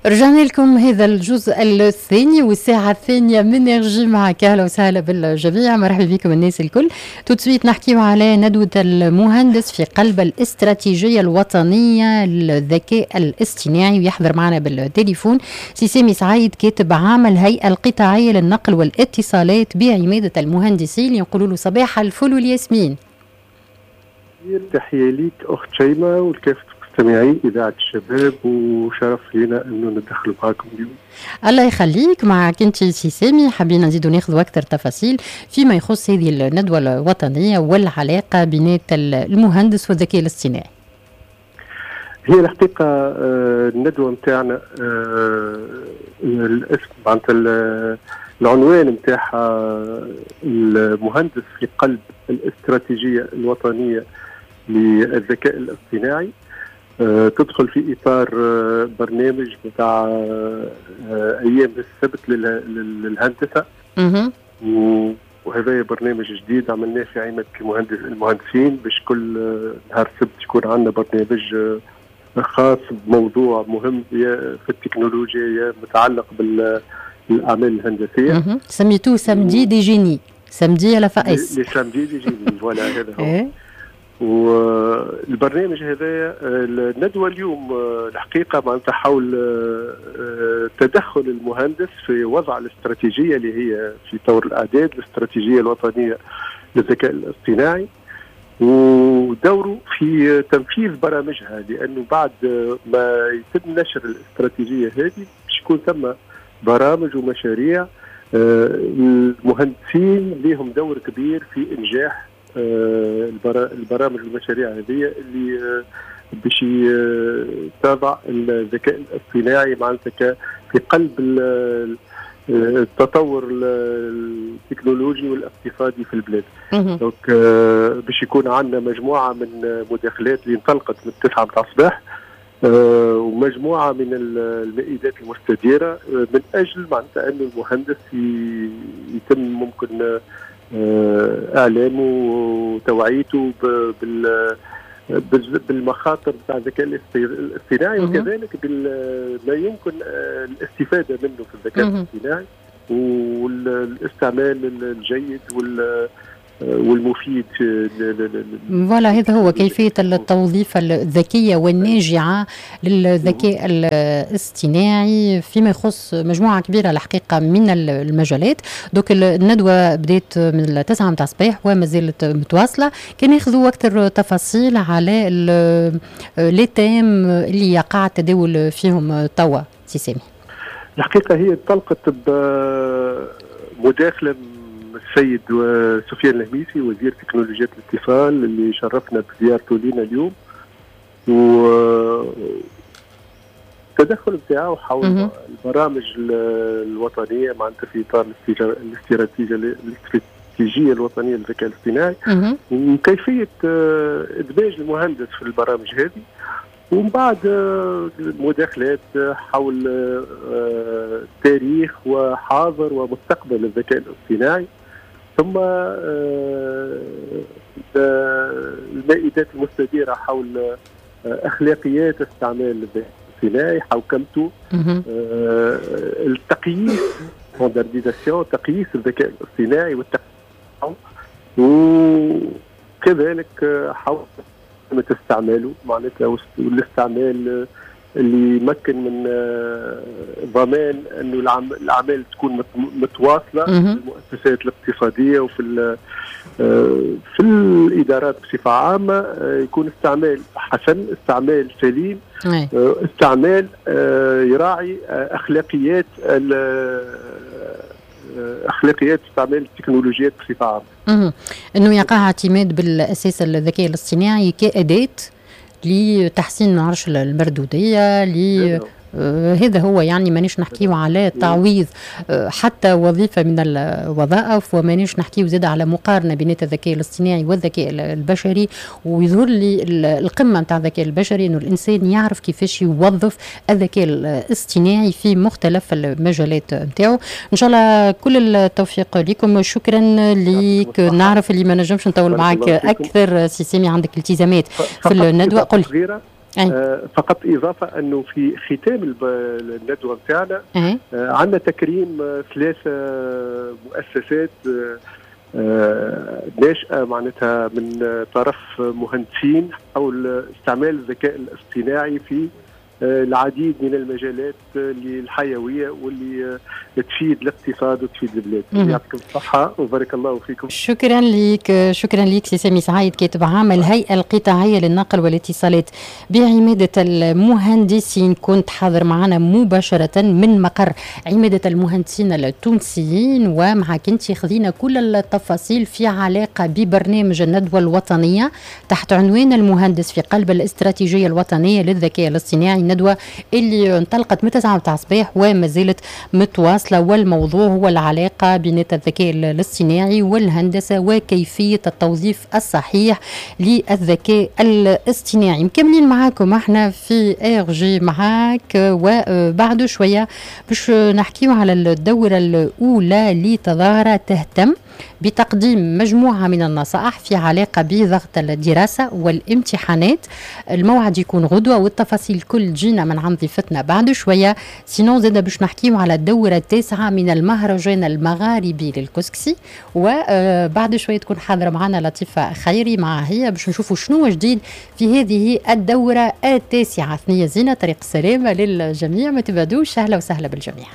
رجعنا لكم هذا الجزء الثاني والساعة الثانية من énergie معك. أهلا وسهلا بالجميع، مرحبا بكم الناس الكل. tout de suite نحكيو على ندوة المهندس في قلب الاستراتيجية الوطنية للذكاء الاصطناعي، ويحضر معنا بالتليفون سي سامي سعيد، كاتب عام الهيئة القطاعية للنقل والاتصالات بعمادة المهندسين. يقولوا له صباح الفل والياسمين. تحية ليك أخت شيماء والكافة مستمعي إذاعة الشباب، وشرف لنا أنه ندخل معكم اليوم. الله يخليك. معك أنت سي سامي، حابين نزيدوا ناخذ أكثر تفاصيل فيما يخص هذه الندوة الوطنية والعلاقة بين المهندس والذكاء الاصطناعي. هي الحقيقة الندوة نتاعنا الاسم معناتها العنوان نتاعها المهندس في قلب الاستراتيجية الوطنية للذكاء الاصطناعي، تدخل في اطار برنامج بتاع ايام السبت للهندسه، وهذا برنامج جديد عملناه في عمادة المهندسين باش كل نهار السبت يكون عندنا برنامج خاص بموضوع مهم يا في التكنولوجيا يا متعلق بالاعمال الهندسية. سميتوه samedi des génies، samedi à la FAS. les samedis des génies، voilà هذا هو. إيه؟ والبرنامج هذا، الندوة اليوم الحقيقة معناتها حول تدخل المهندس في وضع الاستراتيجية اللي هي في طور الاعداد، الاستراتيجية الوطنية للذكاء الاصطناعي، ودوره في تنفيذ برامجها، لانه بعد ما يتم نشر الاستراتيجية هذه باش يكون ثم برامج ومشاريع. المهندسين لهم دور كبير في انجاح البرامج والمشاريع هذه اللي باش تضع الذكاء الاصطناعي معناتها في قلب التطور التكنولوجي والاقتصادي في البلاد. donc باش يكون عندنا مجموعة من مداخلات اللي انطلقت من 9 متاع الصباح ومجموعة من المائدات المستديرة من اجل معناتها انه المهندس يتم ممكن اعلامه وتوعيته بالمخاطر بتاع الذكاء الاصطناعي، وكذلك بما يمكن الاستفادة منه في الذكاء الاصطناعي والاستعمال الجيد والمفيد. voilà، هذا هو كيفية التوظيف الذكية والناجعة للذكاء الاصطناعي فيما يخص مجموعة كبيرة الحقيقة من المجالات. donc الندوة بدأت من 9 متاع الصباح وما زالت متواصلة. كان ياخذوا أكثر تفاصيل على les thèmes اللي يقع التداول فيهم توا سي سامي. الحقيقة هي انطلقت بمداخلة السيد سفيان الهميسي، وزير تكنولوجيات الاتصال، اللي شرفنا بزيارته لنا اليوم، و التدخل بتاعه حول البرامج الوطنية معناتها في اطار الاستراتيجية الوطنية للذكاء الاصطناعي وكيفية ادماج المهندس في البرامج هذه، ومن بعد مداخلات حول تاريخ وحاضر ومستقبل الذكاء الاصطناعي، ثم المائدات المستديرة حول أخلاقيات استعمال الذكاء الاصطناعي، حوكمته، التقييس standardisation، تقييس الذكاء الاصطناعي والتقييم، وكذلك حول استعماله معناتها والاستعمال اللي يمكن من ضمان انه الاعمال تكون متواصلة في المؤسسات الاقتصادية وفي في الادارات بصفة عامه، يكون استعمال حسن، استعمال سليم، استعمال يراعي اخلاقيات استعمال التكنولوجيات بصفة عامة. انه يقع اعتماد بالاساس الذكاء الاصطناعي كاداة لتحسين نعرش المردوديه ل هذا هو، يعني مانيش نحكيو على تعويض حتى وظيفة من الوظائف، ومانيش نحكيو زاد على مقارنة بين الذكاء الاصطناعي والذكاء البشري. ويظهر لي القمه نتاع الذكاء البشري انه الانسان يعرف كيفاش يوظف الذكاء الاصطناعي في مختلف المجالات نتاعو. ان شاء الله كل التوفيق لكم. شكرا لك. نعرف اللي ما نجمش نطول معك اكثر سي سامي، عندك التزامات في الندوه. قل. فقط اضافه انه في ختام الندوة نتاعنا عندنا تكريم 3 مؤسسات ناشئة معناتها من طرف مهندسين حول استعمال الذكاء الاصطناعي في العديد من المجالات الحيوية واللي تفيد الاقتصاد وتفيد البلاد. يعطيكم الصحة وبارك الله فيكم. شكرا لك، شكرا لك سي سامي سعيد، كاتب عام الهيئة القطاعيه للنقل والاتصالات بعماده المهندسين، كنت حاضر معنا مباشرة من مقر عماده المهندسين التونسيين، ومعك انت خذينا كل التفاصيل في علاقة ببرنامج الندوة الوطنية تحت عنوان المهندس في قلب الاستراتيجية الوطنية للذكاء الاصطناعي، الندوة اللي انطلقت من 9 متاع الصباح وما زالت متواصلة، والموضوع هو العلاقة بين الذكاء الاصطناعي والهندسة وكيفية التوظيف الصحيح للذكاء الاصطناعي. مكملين معاكم احنا في RG معاك، وبعد شوية باش نحكيو على الدورة الأولى لتظاهرة تهتم بتقديم مجموعة من النصائح في علاقة بضغط الدراسة والامتحانات. الموعد يكون غدوة والتفاصيل كل جينا من عند ضيفتنا بعد شوية. sinon زاد باش نحكيو على الدورة التاسعة من المهرجان المغاربي للكسكسي، وبعد شوية تكون حاضرة معنا لطيفة خيري مع هي باش نشوفوا شنو جديد في هذه الدورة التاسعة. ثنية زينة، طريق السلامة للجميع، ما تبعدوش، أهلا وسهلا بالجميع.